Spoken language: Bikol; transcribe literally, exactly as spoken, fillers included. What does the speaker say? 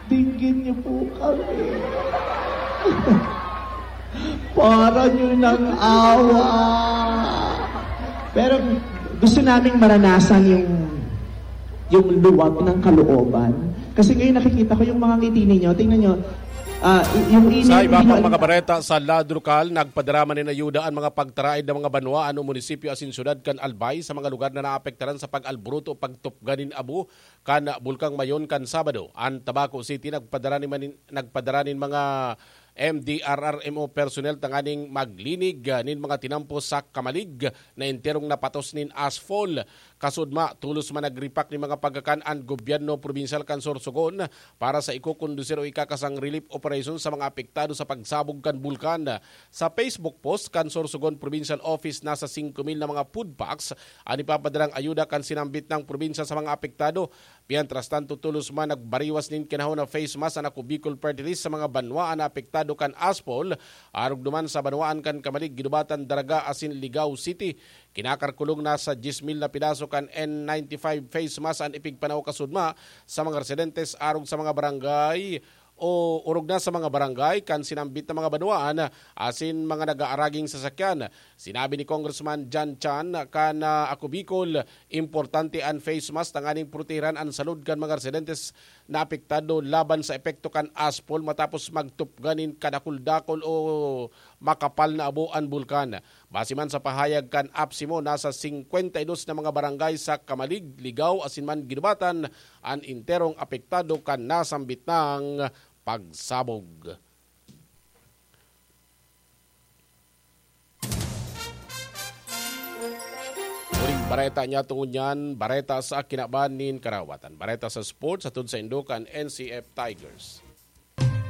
Dinggin niyo po kami. Para niyo ng awa. Pero gusto naming maranasan yung, yung luwag ng kalooban. Kasi ngayon nakikita ko yung mga ngiti ninyo. Tingnan niyo, ah, y-, yung init, Sa iba hindi pang nyo mga alam. Bareta sa Ladrocal, nagpadrama nin ayuda an mga pagtaraid na mga banwaan o munisipyo asin syudad kan Albay sa mga lugar na naapektaran sa pag-alboroto o pagtupgan nin abo kan Bulkang Mayon kan Sabado. An Tabaco City nagpadara nin manin-, nagpadara nin mga M D R R M O personnel tanganing maglinig, ah, nin mga tinampo sa Camalig na enterong napatos nin ashfall. Kasudma, tolos man nagripak nin mga pagkakan an gobyerno probinsyal kan Sorsogon para sa ikokondusir o ikakasang relief operation sa mga apektado sa pagsabog kan bulkan. Sa Facebook post kan Sorsogon Provincial Office, nasa singko mil na mga food packs an ipapadalang ayuda kan sinambit na probinsya sa mga apektado. Mientras tanto, tolos man nagbariwas nin kinahon na face mask an Ako Bicol Party List sa mga banwaan na apektado kan ashfall, arog duman sa banwaan kan Camalig, Guinobatan, Daraga asin Ligao City. Kinakalkulong nasa dyes mil na pidaso kan N ninety-five face mask an ipigpanaw kasudma sa mga residentes arog sa mga barangay o orog na sa mga barangay kan sinambit na mga banwaan asin mga nag-aaraging sasakyan. Sinabi ni Congressman John Chan kan, ah, Ako Bicol, importante an face mask tanganing protehiran an salud kan mga residentes na apektado laban sa epekto kan ashfall matapos magtupgan nin kadakul-dakul o makapal na abo an bulkan. Base man sa pahayag kan APSEMO, nasa singkwenta y dos na mga barangay sa Camalig, Ligao asin man Guinobatan an enterong apektado kan nasambit nang pagsabog. Huling bareta niya tungod niyan, bareta sa kinaban nin karawatan. Bareta sa sports, hatod saindo kan N C F Tigers.